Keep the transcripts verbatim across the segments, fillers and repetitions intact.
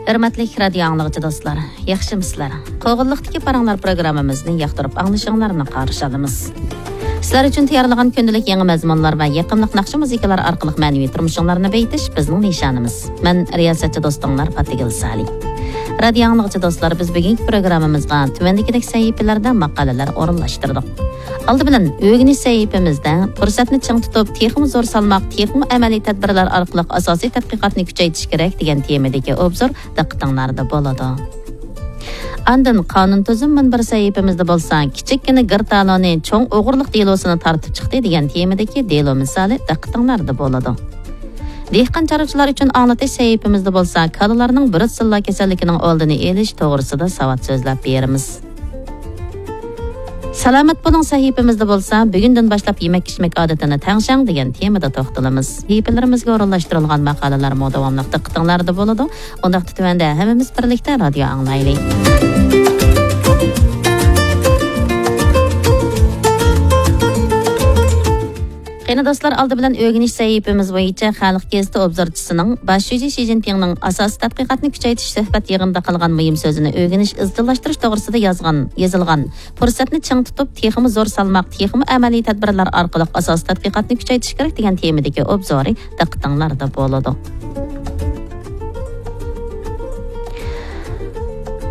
ھۆرمەتلىك رادىيو ئاڭلىغۇچى دوستلار، ياخشىمۇسىلەر؟ قوغۇنلۇقتىكى پاراڭلار پروگراممىمىزنى ياقتۇرۇپ ئاڭلىشىڭلارنى قارشى ئالىمىز. سىلەر ئۈچۈن تەييارلىغان كۈندىلىك يېڭى مەزمۇنلار ۋە يېقىملىق ناخشا مۇزىكىلار ئارقىلىق مەنىۋى تۇرمۇشۇڭلارنى بېيىتىش بىزنىڭ نىشانىمىز. مەن رىياسەتچى دوستۇڭلار پاتىگۈل سالى. رادىيو ئاڭلىغۇچى دوستلار، بىز بۈگۈنكى پروگراممىمىزغا تۆۋەندىكىدەك سەھىپىلەردە ماقالىلەر ئورۇنلاشتۇردۇق. ئالدى بىلەن ئۆگىنىش سەھىپىمىزدە پۇرسەتنى چىڭ تۇتۇپ، تېخىمۇ زور سالماق، تېخىمۇ ئەمەلىي تەدبىرلەر ئارقىلىق ئاساسىي تەتقىقاتنى كۈچەيتىش كېرەك دېگەن تېمىدىكى ئوبزور دىققىتىڭلاردا بولىدۇ. ئاندىن قانۇن تۈزۈم مۇنبىرى سەھىپىمىزدە بولسا، كىچىككىنە گىر تالونى چوڭ ئوغرىلىق دېلوسىنى تارتىپ چىقتى دېگەن تېمىدىكى دېلو مىسالى دىققىتىڭلاردا بولىدۇ. دېھقان چارۋىچىلار ئۈچۈن ئاڭلىتىش سەھىپىمىزدە بولسا، كالىلارنىڭ بروتسېللا كېسەللىكىنىڭ ئالدىنى ئېلىش توغرىسىدا ساۋات سۆزلەپ بېرىمىز. سالامەت بولۇڭ سەھىپىمىزدە بولسا، بۈگۈندىن باشلاپ يېمەك-ئىچمەك ئادىتىنى تەڭشەڭ دېگەن تېمىدا توختىلىمىز. سەھىپىلىرىمىزگە ئورۇنلاشتۇرۇلغان ماقالىلەرمۇ داۋاملىق دىققىتىڭلاردا بولىدۇ. ئۇنداقتا تۆۋەندە ھەممىمىز بىرلىكتە رادىيو ئاڭلايلى. قېنى دوستلار، ئالدى بىلەن ئۆگىنىش سەھىپىمىز بويىچە خەلق گېزىتى ئوبزورچىسىنىڭ باش شۇجى شى جىنپىڭنىڭ ئاساسىي تەتقىقاتنى كۈچەيتىش سۆھبەت يىغىنىدا قىلغان مۇھىم سۆزىنى ئۆگىنىش، ئىزچىللاشتۇرۇش توغرىسىدا يازغان، يېزىلغان پۇرسەتنى چىڭ تۇتۇپ، تېخىمۇ زور سالماق، تېخىمۇ ئەمەلىي تەدبىرلەر ئارقىلىق ئاساسىي تەتقىقاتنى كۈچەيتىش كېرەك دېگەن تېمىدىكى ئوبزورى دىققىتىڭلاردا بولىدۇ.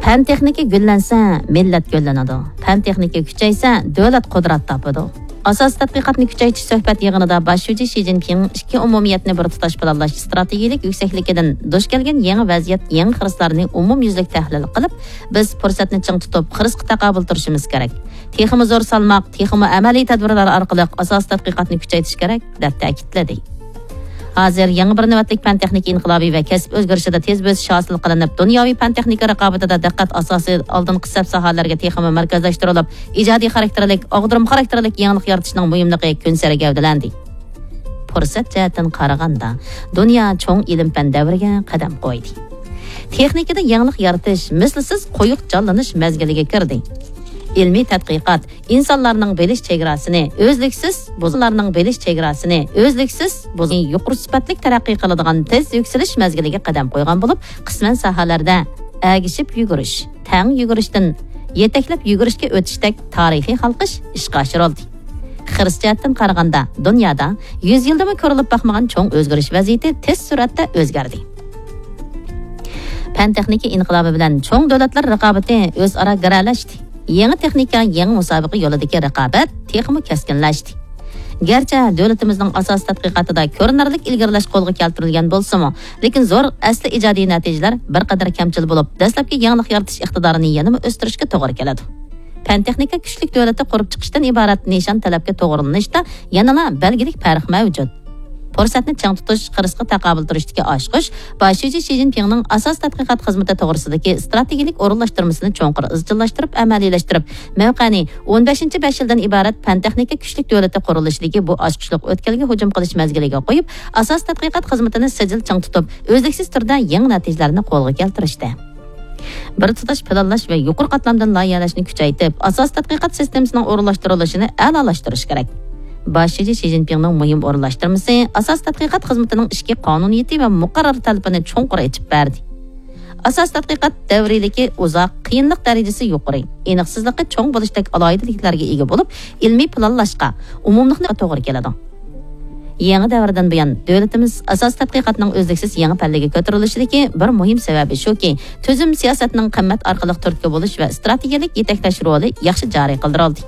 پەن تېخنىكا گۈللەنسە، مىللەت گۈللىنىدۇ. پەن تېخنىكا كۈچەيسە، دۆلەت قۇدرەت تاپىدۇ. ئاساسىي تەتقىقاتنى كۈچەيتىش سۆھبەت يىغىنىدا باش شۇجى شى جىنپىڭ ئىككى ئومۇمىيەتنى بىر تۇتاش پىلانلاش ئىستراتېگىيەلىك يۈكسەكلىكىدىن دۇچ كەلگەن يېڭى ۋەزىيەت، يېڭى خىرىسلارنى ئومۇميۈزلۈك تەھلىل قىلىپ، بىز پۇرسەتنى چىڭ تۇتۇپ، خىرىسقا تاقابىل تۇرۇشىمىز كېرەك. تېخىمۇ زور سالماق، تېخىمۇ ئەمەلىي تەدبىرلەر ئارقىلىق ئاساسىي تەتقىقاتنى كۈچەيتىش كېرەك، دەپ تەكىتلىدى. ھازىر يېڭى بىر نۆۋەتلىك پەن-تېخنىكا ئىنقىلابى ۋە كەسىپ ئۆزگىرىشىدە تېز بۆسۈش ھاسىل قىلىنىپ، دۇنياۋى پەن-تېخنىكا رىقابىتىدە دىققەت ئاساسىي ئالدىنقى سەپ ساھەلەرگە تېخىمۇ مەركەزلەشتۈرۈلۈپ، ئىجادىي خاراكتېرلىك، ئاغدۇرما خاراكتېرلىك يېڭىلىق يارىتىشنىڭ مۇھىملىقى كۈنسېرى گەۋدىلەندى. پۇرسەت جەھەتتىن قارىغاندا، دۇنيا چوڭ ئىلىم-پەن دەۋرىگە قەدەم قويدى. تېخنىكىدا يېڭىلىق يارىتىش مىسلىسىز قويۇق جانلىنىش مەزگىلىگە كىردى. ئىلمىي تەتقىقات ئىنسانلارنىڭ بىلىش چېگراسىنى ئۈزلۈكسىز بۇزۇلارنىڭ بىلىش چېگراسىنى ئۈزلۈكسىز بۇزۇلۇپ، يۇقىرى سۈپەتلىك تەرەققىي قىلىدىغان تېز يۈكسىلىش مەزگىلىگە قەدەم قويغان بولۇپ، قىسمەن ساھەلەردە ئەگىشىپ يۈگۈرۈش، تەڭ يۈگۈرۈشتىن يېتەكلەپ يۈگۈرۈشكە ئۆتۈشتەك تارىخىي ھالقىش ئىشقا ئاشۇرۇلدى. خىرىس جەھەتتىن قارىغاندا، دۇنيادا يۈز يىلدىمۇ كۆرۈلۈپ باقمىغان چوڭ ئۆزگىرىش ۋەزىيىتى تېز سۈرئەتتە ئۆزگەردى. پەن-تېخنىكا ئىنقىلابى بىلەن چوڭ دۆلەتلەر رىقابىتى ئۆزئارا گىرەلەشتى. يېڭى تېخنىكا، يېڭى مۇسابىقە يولىدىكى رىقابەت تېخىمۇ كەسكىنلەشتى. گەرچە دۆلىتىمىزنىڭ ئاساسىي تەتقىقاتىدا كۆرۈنەرلىك ئىلگىرىلەش قولغا كەلتۈرۈلگەن بولسىمۇ، لېكىن زور ئەسلى ئىجادىي نەتىجىلەر بىر قەدەر كەمچىل بولۇپ، دەسلەپكى يېڭىلىق يارىتىش ئىقتىدارىنى يەنىمۇ ئۆستۈرۈشكە توغرا كېلىدۇ. پەن-تېخنىكا كۈچلۈك دۆلىتى قۇرۇپ چىقىشتىن ئىبارەت نىشان تەلەپكە توغرىلىنىشتا يەنىلا بەلگىلىك پەرق مەۋجۇت. پۇرسەتنى چىڭ تۇتۇش، خىرىسقا تاقابىل تۇرۇشتىكى ئاچقۇچ باش شۇجى شى جىنپىڭنىڭ ئاساسىي تەتقىقات خىزمىتى توغرىسىدىكى ئىستراتېگىيەلىك ئورۇنلاشتۇرمىسىنى چوڭقۇر ئىزچىللاشتۇرۇپ ئەمەلىيلەشتۈرۈپ، مەۋقەنى ئون بەشىنچى بەش يىلدىن ئىبارەت پەن-تېخنىكا كۈچلۈك دۆلىتى قۇرۇلۇشىدىكى بۇ ئاچقۇچلۇق ئۆتكەلگە ھۇجۇم قىلىش مەزگىلىگە قويۇپ، ئاساسىي تەتقىقات خىزمىتىنى سىجىل چىڭ تۇتۇپ، ئۈزلۈكسىز تۈردە يېڭى نەتىجىلەرنى قولغا كەلتۈرۈشتە. بىر تۇتاش پىلانلاش ۋە يۇقىرى قاتلامدىن لايىھەلەشنى كۈچەيتىپ، ئاساسىي تەتقىقات سىستېمىسىنىڭ ئورۇنلاشتۇرۇلۇشىنى ئەلالاشتۇرۇش كېرەك. باش شۇجى شى جىنپىڭنىڭ مۇھىم ئورۇنلاشتۇرمىسى ئاساسىي تەتقىقات خىزمىتىنىڭ ئىچكى قانۇنىيىتى ۋە مۇقەررەر تەلىپىنى چوڭقۇر ئېچىپ بەردى. ئاساسىي تەتقىقات دەۋرىيلىكى ئۇزاق، قىيىنلىق دەرىجىسى يۇقىرى، ئېنىقسىزلىقى چوڭ بولۇشتەك ئالاھىدىلىكلەرگە ئىگە بولۇپ، ئىلمىي پىلانلاشقا، ئومۇملۇقنى توغرا كېلىدۇ. يېڭى دەۋردىن بۇيان، دۆلىتىمىز ئاساسىي تەتقىقاتنىڭ ئۈزلۈكسىز يېڭى پەللىگە كۆتۈرۈلۈشىدىكى بىر مۇھىم سەۋەبى شۇكى، تۈزۈم سىياسەتنىڭ قىممەت ئارقىلىق تۈرتكە بولۇش ۋە ئىستراتېگىيەلىك يېتەكلەش رولى ياخشى جارى قىلدۇرۇلدى.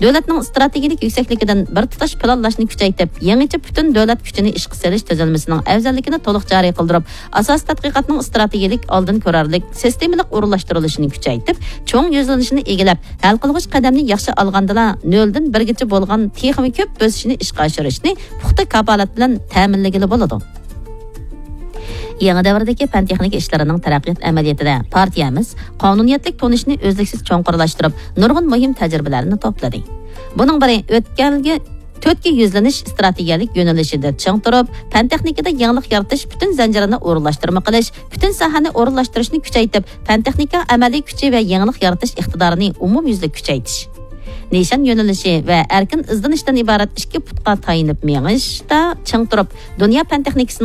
دۆلەتنىڭ ئىستراتېگىيەلىك يۈكسەكلىكىدىن بىر تۇتاش پىلانلاشنى كۈچەيتىپ، يېڭىچە پۈتۈن دۆلەت كۈچىنى ئىشقا سېلىش تۈزۈلمىسىنىڭ ئەۋزەللىكىنى تولۇق جارى قىلدۇرۇپ، ئاساسىي تەتقىقاتنىڭ ئىستراتېگىيەلىك، ئالدىن كۆرەرلىك، سىستېمىلىق ئورۇنلاشتۇرۇلۇشىنى كۈچەيتىپ، چوڭ يۈزلىنىشىنى ئىگىلەپ، ھەل قىلغۇچ قەدەمنى ياخشى ئالغاندىلا، نۆلدىن بىرگىچە بولغان تېخىمۇ كۆپ بۆسۈشنى ئىشقا ئاشۇرۇشنى پۇختا كاپالەت بىلەن تەمىنلىگىلى بولىدۇ. يېڭى دەۋردىكى پەن-تېخنىكا ئىشلىرىنىڭ تەرەققىيات ئەمەلىيىتىدە پارتىيەمىز قانۇنىيەتلىك تونۇشنى ئۈزلۈكسىز چوڭقۇرلاشتۇرۇپ، نۇرغۇن مۇھىم تەجرىبىلەرنى توپلىدى. بۇنىڭ بىرى، ئۆتكەلگە تۆتكە يۈزلىنىش ئىستراتېگىيەلىك يۆنىلىشىدە چىڭ تۇرۇپ، پەن-تېخنىكىدا يېڭىلىق يارىتىش پۈتۈن زەنجىرىنى ئورۇنلاشتۇرما قىلىش، پۈتۈن ساھەنى ئورۇنلاشتۇرۇشنى كۈچەيتىپ، پەن-تېخنىكا ئەمەلىي كۈچى ۋە يېڭىلىق يارىتىش ئىقتىدارىنى ئومۇميۈزلۈك كۈچەيتىش. نىشان يۆنىلىشى ۋە ئەركىن ئىزدىنىشتىن ئىبارەت ئىككى پۇتقا تايىنىپ مېڭىشتا چىڭ تۇرۇپ، دۇنيا پەن-تېخنىكىسىنىڭ